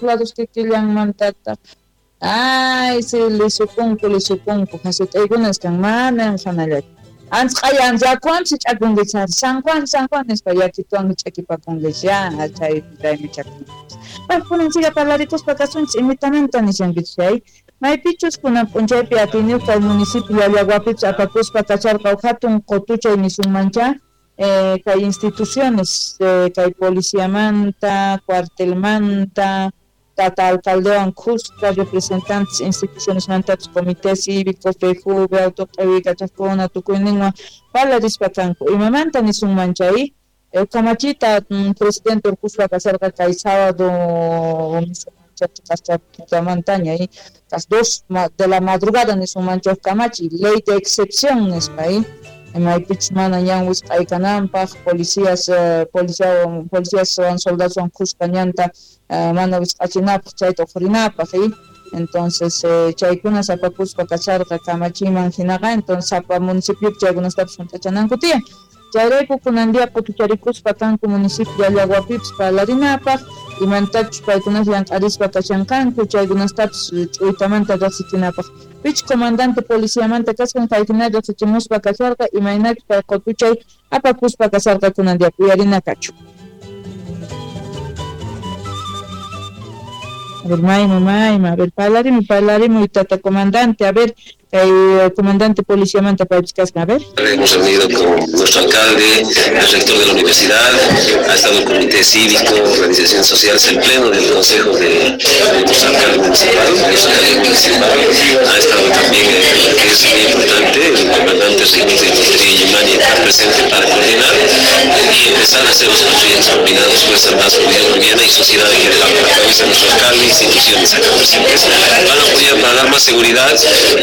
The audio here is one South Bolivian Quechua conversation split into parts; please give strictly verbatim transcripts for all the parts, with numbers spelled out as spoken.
Lados kikillanmantataq ay si lisupunku lisupunku hasut'aykunas kan mana hanallachu anchqayan yakuwanpis ch'akunkichis ari San Juan San Juan nispa yakituwanmi ch'akipakunkichis ya chay raymichakunkichis. Bueno, kunan siga parlarikuspa kasunchis imitamanta nishankichis chay maypichus kunan p'unchaypi atiyniyuq kay municipio Llallaguapipis apakuspa kacharqa huk hatun qutuchay nisunmancha eh, kay instituciones eh, kay policiamanta, cuartelmanta, tata alcaldewan khuska representantes institucionesmantapis comité cívico, F J V, autoq'awikachaqkuna tukuyninwan parlarispa kanku imamanta nisunman chay eh, kamachita mm, presidente urquspa kasarqa kay sábado nisunmancha y las dos de la madrugada nisunmancha kamachi ley de excepción nispa y maypichus mana ñan wisq'aykananpaq policías eh, policía policías soldados khuska ñanta eh, mana wisq'achinapaq chayta uqrinapaq y entonces eh, chaykunas apakuspa kacharqa kamachiman hinaqa entonces sapa municipiopi chaykunastapis hunt'achananku tiyan chayrayku kunan día qutucharikuspa kanku municipio Llallaguapipis parlarinapaq imantachus paykunas llank'arispa kashanqanku chaykunastapis ch'uytamanta riqsichinapaq pich comandante policiamanta kasqan kayhina riqsichimuspa kasharqa imaynachus kay qutuchay apakuspa kasharqa kunan día uyarinakachu. A ver, mayma, mayma, a ver, parlarimu, parlarimu, tata comandante, a ver, el comandante policiamanta paypis kasqa, a ver. Hemos reunido con nuestro alcalde, el rector de la universidad, ha estado el comité cívico, organizaciones sociales, el pleno del consejo de, de nuestro alcalde municipal, nuestro alcalde municipal, ha estado también, eh, que es muy importante, el comandante Reynoso de Infantería Illimani está presente para coordinar y empezar a hacer los proyectos combinados, Fuerzas Armadas Boliviana y sociedad en general, a través de nuestro alcalde, instituciones acá presentes, van a apoyar para dar más seguridad,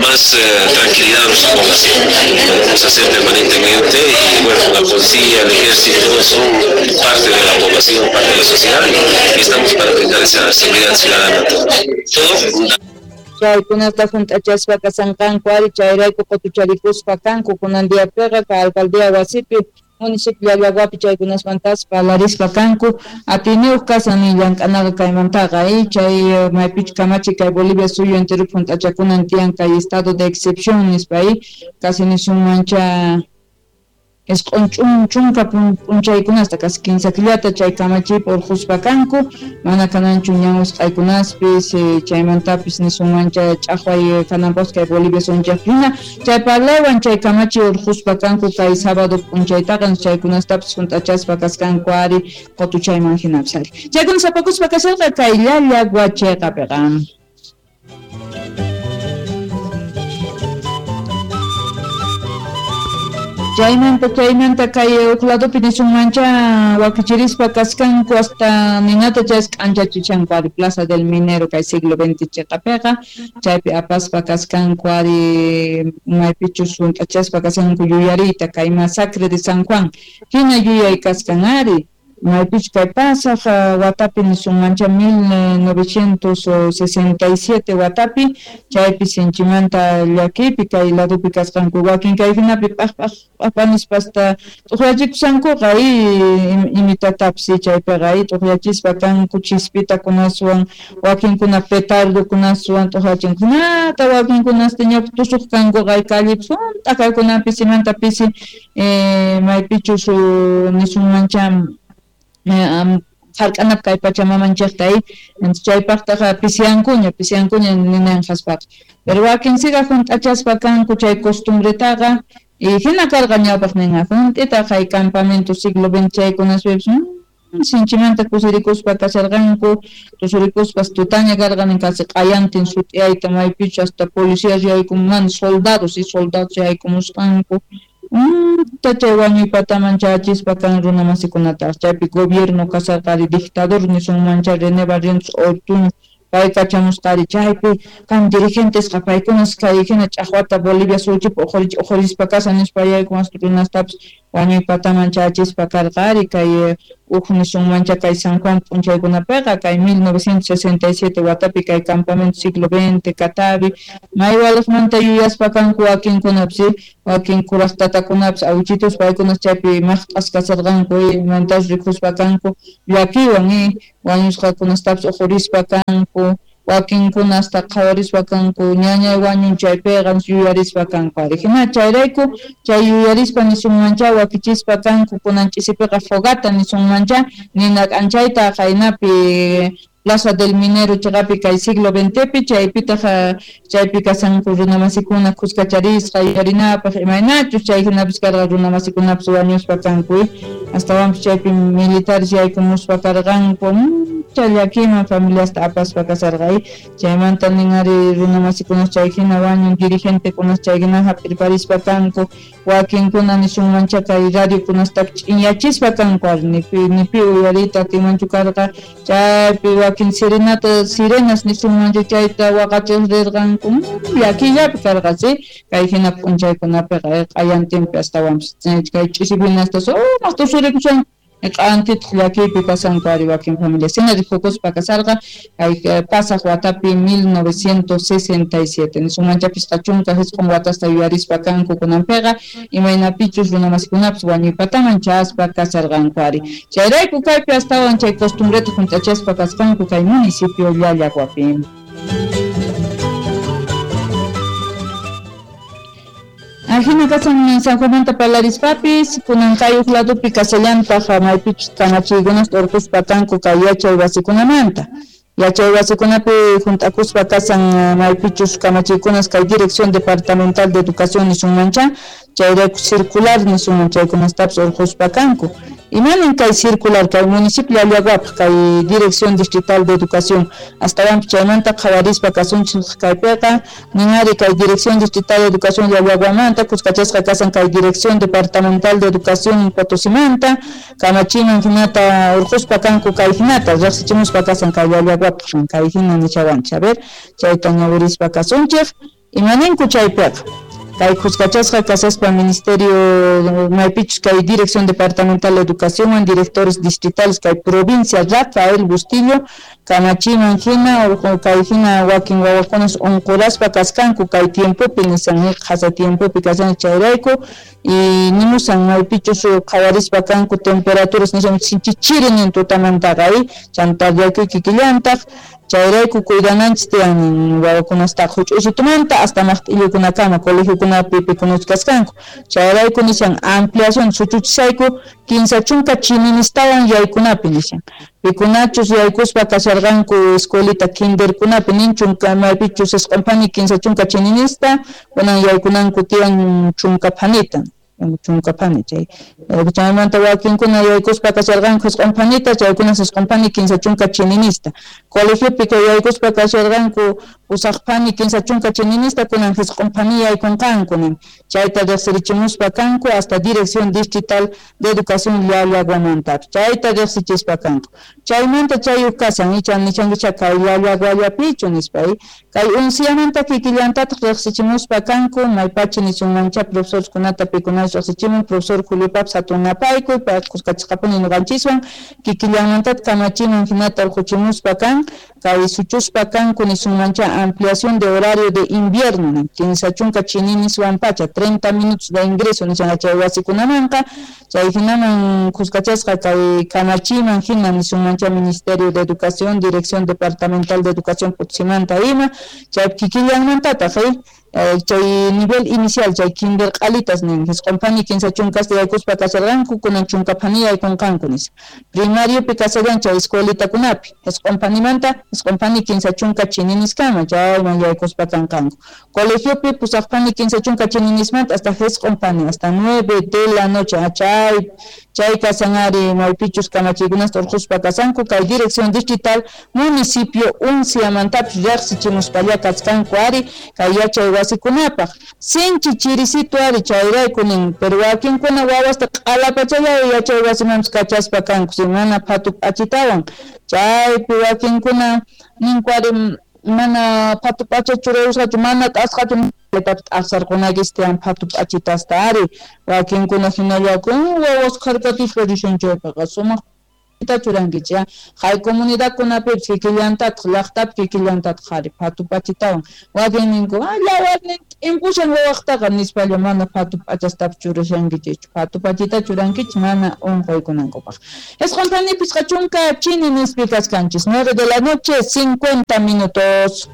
más eh, tranquilidad a nuestra población. Lo vamos a hacer permanentemente y bueno, la policía, el ejército son parte de la población, parte de la sociedad y estamos para brindar esa seguridad ciudadana a todos. Todo. Chaykunata hunt'achaspa kasanqanku ari chayrayku qutucharikuspa kanku kunan diapiqa kay alcaldía wasipi municipio Llallaguapi chaykunasmantas parlarispa kanku atiyniyuq kasan llank'anaqa kaymantaqa y chay maypichu kamachi kay Bolivia suyu enteropi hunt'achakunan tiyan kay estado de excepción nispa y casi nisunmancha isq'un chunka p'unchaykunasta casi kinsa killata chay kamachipi urquspa kanku mana kananchu ñan wisq'aykunaspis chaymantapis nisunmancha ch'aqway kananpaq kay Bolivia suyunchaqpina chay parlaywan chay kamachi urquspa kanku kay sábado p'unchaytaqa chaykunastapis hunt'achaspa kaskanku ari qutuchayman hinapis ari chaykunas apakuspa kasharqa kay Llallagua chayqapiqa. Chaymanta chaymanta kay huk ladopi nisunmancha wakichirispa kaskanku hasta ninata chay k'anchachichanku ari Plaza del Minero kay siglo veinte chiqapiqa chaypi apaspa kaskanku ari maypichus hunt'achaspa kaskanku yuyariyta kay masacre de San Juan hina yuyay kaskan ari maypichus kay pasaq watapi nisunmancha mil novecientos sesenta y siete watapi chaypi sinchimanta llakipi kay ladopi kasqanku wakin kay hinapi p'aq p'aq nispa hasta t'uqyachikushankuqa y imitatapis chaypiqa y t'uqyachispa kanku chispitakunaswan wakinkuna petardokunaswan t'uqyachinkunata wakinkunasta ñawpa tusuq kankuqa callepi hunt'a kaykunapi pisimanta pisi eh, maypichus nisunmancha hark'anap kay pachamamanchikta y chaypaqtaqa pisiyankuña pisiyankuña ninanqaspaqa pero wakin siga hunt'achaspa kanku chay costumbretaqa y hina karqa ñawpaqninqa hunt'ita kay campamento siglo veinte chaykunaspipis sinchimanta kusirikuspa kasharqanku tusurikuspas tutaña karqan casi q'ayantin sut'iyayta maypichu hasta policías yaykumunman soldados y soldados yaykumusqanku chay wañuy pataman chayachispa kan runa masikunata chaypi gobierno kasarqari dictador nisunmancha René Barrientos Ortuño pay kachamusqari chaypi kan dirigentesqa paykunas kay hina ch'aqwata Bolivia suyuchipi uqhurispa kasan nispa yaykumas runastapis wañuy pataman chayachispa karqari kay Uj nisunmancha kay San Juan p'unchaykunapiqa kay mil novecientos sesenta y siete watapi kay campamento siglo veinte Catavi maywaliqmanta yuyaspa kanku wakinkunapis wakin kuraq tatakunapis awichitus paykunas chaypi maqt'as kasarqanku mantas rikuspa kanku llakiwan wañusqakunastapis uqurispa kanku wakinkuna hasta qhawarispa kanku ñañay wañun chaypiqa yuyarispa kanku ari hina chayrayku chay yuyarispa nisunmancha wakichispa kanku kunan ch'isipiqa fogata nisunmancha nina k'anchayta qaynapi Plaza del Minero chaqapi kay siglo veintepi chaypitaq chaypi kasanku runamasikuna khuskacharisqa yuyarinapaq imaynachus chay hinapis karqa runamasikunapis wañuspa kanku astawanpis chaypi militares yaykumuspa karqanku chay llakiman familiasta apaspa kasarqa chaymanta nin ari runamasikunas chay hina wañun dirigentekunas chay hina hap'irparispa kanku wakinkuna nisunmancha kay radiokunastapis ch'inyachispa kanku ari nipi nipi uyariyta atinmanchu karqa chaypi wakin sirenata sirenas nisunmanchu chayta waqachis rirqanku llakillapi karqa si kay hina p'unchaykunapiqa q'ayantinpi astawanpis kay ch'isipina hasta sumaq tusurikushan q'antitaq llakiypi kasanku ari wakin familias hina rikukuspa kasarqa kay pasaq watapi mil novecientos sesenta y siete nisunmancha pisqa chunka jisq'un watasta yuyarispa kanku kunanpiqa imaynapichus runamasikunapis wañuypataman chaspa kasarqanku ari chayrayku kaypi astawan chay costumbreta hunt'achaspa kasqanku kay municipio Llallaguapi. Ajina kasan San Juanmanta parlarispapis kunan kay uj ladopi kasallantaq maypichus kamachiykunasta urquspa kanku kay yachay wasikunamanta yachay wasikunapi hunt'akuspa kasan maypichus kamachiykunas kay Dirección Departamental de Educación nisunmancha chayrayku circular nisunman chaykunastapis urquspa kanku imanin kay circular kay municipio Llallaguapaq kay Dirección Distrital de Educación astawanpis chaymanta qhawarispa kasunchik kaypiqa ninari kay Dirección Distrital de Educación Llallaguamanta kuskachasqa kasan kay Dirección Departamental de Educación Potosimanta kamachiman hinata urquspa kanku kay hinata riqsichimuspa kasan kay Llallaguapaq kay hina nichawanchik a ver chayta ñawirispa kasunchik imaninku chaypiqa kay kuskachasqa kasaspa Ministerio maypichus kay Dirección Departamental de Educación directores distritales kay provincia Rafael Bustillo kamachiman hina kay hina wakin wawakunas unquraspa kaskanku kay tiempopi nisan qhasa tiempopi kasan chayrayku y nimusan maypichus qhawarispa kanku temperaturas nisan sinchi chiri nin tutamantaqa chanta llakiy kikillantaq chayrayku cuidananchis tiyan wawakunastaqa huch'uysitumanta hasta maqt'illukunakama colegiokunapi pikunas kaskanku chayrayku nishan ampliación suchuchisayku kinsa chunka chininistawan yaykunapi nishan pikunachus yaykuspa kasharqanku escuelita kinderkunapi nin chunka maypichus isq'un phani kinsa chunka chininista kunan yaykunanku tiyan chunka phanita chunka phani chay chaymanta wakinkuna yaykuspa kasharqanku isq'un phanita chaykunas isq'un phani kinsa chunka chininista colegiopi kay yaykuspa kasharqanku pusaq phani kinsa chunka chininista kunan jisq'un phani yaykunqanku nin chayta riqsirichimuspa kanku hasta Dirección Distrital de Educación Llallaguamantapis chayta riqsichispa kanku chaymanta chay uj kasan icha nichankicha kay Llallaguallapichu nispa kay unciamanta kikillantataq riqsichimuspa kanku maypacha nisunmancha profesorkunata pikunas riqsichimun profesor Julio Paps hatunapayku pay kuskachisqapuni ñuqanchiswan kikillanmantataq kamachiman hinata urquchimuspa kan kay suchuspa kanku nisunmancha ampliación de horario de invierno kinsa chunka chininiswan pacha treinta minutos de ingreso nishan chay wasikunamanqa chay hinaman kuskachasqa kay kamachiman hina nisunmancha Ministerio de Educación Dirección Departamental de Educación Potsimanta ima chay kikillanmantataq chay nivel inicial chay kinder q'alitas nin jisq'un phani kinsa chunkasta yaykuspa kasharqanku kunan chunka phani yaykunqanku nispa primariopi kashallan chay escuelitakunapi jisq'un phanimanta jisq'un phani kinsa chunka chininiskama chayman yaykuspa kanqanku colegiopi pusaq phani kinsa chunka chininismanta hasta jisq'un phani hasta nueve de la noche chay chay kasan ari maypichus kamachiykunasta urquspa kasanku kay Dirección Distrital municipio unciamantapis riqsichimuspalla kasqanku ari kay yachay wasikunapaq sinchi chirisito ari chayrayku nin pero wakinkuna wawasta q'alapachalla yachay wasimanpis kachaspa kanku si mana phatu p'achitawan chaypi wakinkuna ninku ari mana phatu p'acha churayusqachu mana t'asqachu t'aqsarqunakis tiyan phatu p'achitasta ari wakinkuna hinallakun wawas kharkatispa rishan chaypiqa sumaq Churankichik hay comunidadkunapipis kikillantataq llaqtapi kikillantataq qhari phatu p'achitawan wakin ninku ah llawarnin t'impushan wawaqtaqa nispalla mana phatu p'achastapis churashankichikchu phatu p'achita churankichik mana unquykunankupaq. Isqun phani pichqa chunka chini nispi kachkanchis nueve de la noche cincuenta minutos.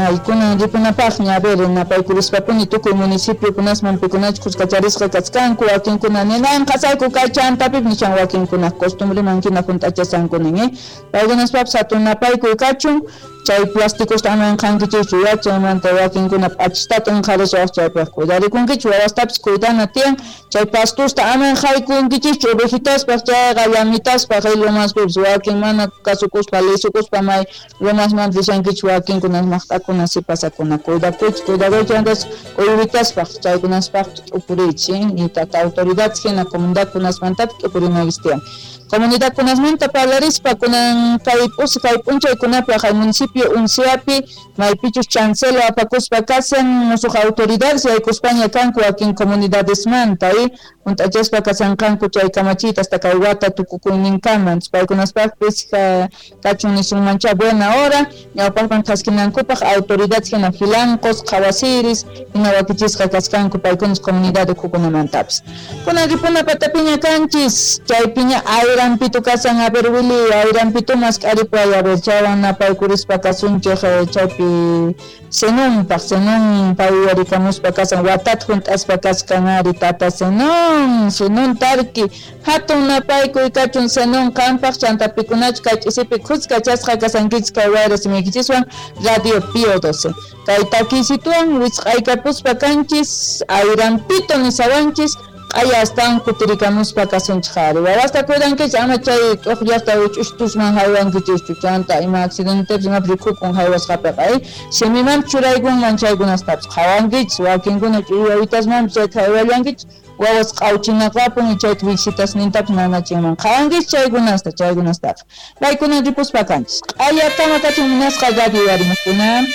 Ay, kunan ripunapaqña, a ver, napaykulispapuni tukuy municipiokunasman pikunachus kuskacharisqa kachkanku, wakinkuna ninan qasayku kay chantapip nishan wakinkuna costumbreman hina hunt'achasanku nin, eh? Paykunaspapas hatun napaykuy kachun, chay plásticos aman qankichikchu ya, chaymanta wakinkuna p'achistata inqharishawaq chaypaq cuidarikunkichik, wawastapis cuidana tiyan, chay pastusta aman haykunkichikchu ovejitaspaq chayqa llamitaspaq lumaspipis wakin mana kasukuspa lisukuspa may lumasman rishankichik wakinkunas maqt'akuna sipasakuna cuidakuychik cuidakuychik antes uywitaspa chaykunaspaq t'upuriychik y tata autoridades hina comunidadkunasmantapis t'upurinaykichik tiyan. Comunidadkunasmanta parlarispa kunan kay p'usi kay p'unchaykunapi hay municipio Unciapi maypichus chancelo apakuspa kasan musuq autoridades yaykuspaña kanku wakin comunidadesmanta y hunt'achaspa kasanqanku chay kamachiyta hasta kay wata tukukuyninkaman paykunaspaqpis kachun nisunmancha buena hora ñawpaqman thaskinankupaq autoridades hina filancos qhawasiris hina wakichisqa kaskanku paykunas comunidad ukhukunamantapis. Kunan ripuna patapiña kanchis chaypiña ayrampito kasan a ver Willy ayrampito mask'aripuay a ver chaywan napaykurispa kasunchik chaypi Zenonpaq Zenon pay uyarikamuspa kasan watata hunt'aspa kaskan ari tata Zenon Zenon tarki hatun napaykuy kachun Zenon qampaq chanta pikunachu kay ch'isipi khuskachasqa kasankichik kay wayra simiykichiswan Radio Pío doce kay takiysituwan wisq'aykapuspa kanchis ayrampito nisawanchis q'aya astawan kutirikamuspa kasunchik ari wawasta cuidankichik ama chay t'uqllaqta wich'ushtusman haywankichikchu chanta ima accidentepis imapis rikhukun haywasqapiqa eh simimanpis churaykunman chaykunastapis qhawankichik wakinkuna ch'uyawitasmanpis chayta haywallankichik wawas q'awchinaqapun y chayta visitasnintapis nanachinman qhawankichik chaykunasta chaykunastaqa paykuna ripuspa kanchis q'ayakama kachun munasqa radio yarimuqkuna.